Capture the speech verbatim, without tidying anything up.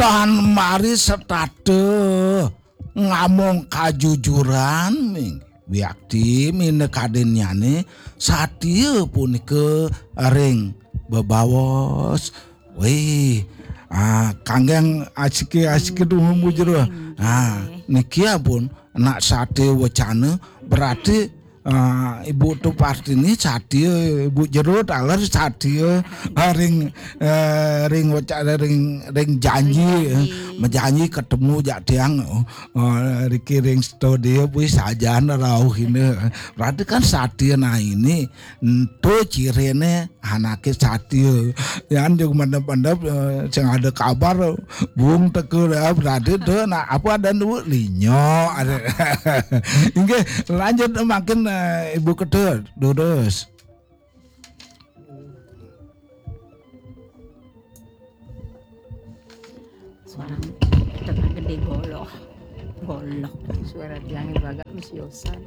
Tan mari setata ngamong kajujuran, ming. Wiakti minakadinnyane satia punika ring bebaos. Wih, ah, kanggeng asiki-asiki dumun Bu Jero. Ah, niki ampun nak satia wacana, berarti, ah, Ibu Tu Partini satia, Ibu Jero taler satia, ah, ring, eh, ring waca-, ring, ring janji, eh, majanji ketemu jak tiang, oh, oh, riki ring studio, wih, sajan rauh ini. Berarti kan satia, nah, ini, ento cirine anake satia. Yan jug mendep-mendep, eh, sing ada kabar, bung teka, ya, berarti tu, nah, apa ada nu linyo, ada. Inggih, lanjut makin, eh, Ibu Ketut, durus. Suara tengah gede goloh. Goloh. Suara tiangnya agak mesiosan.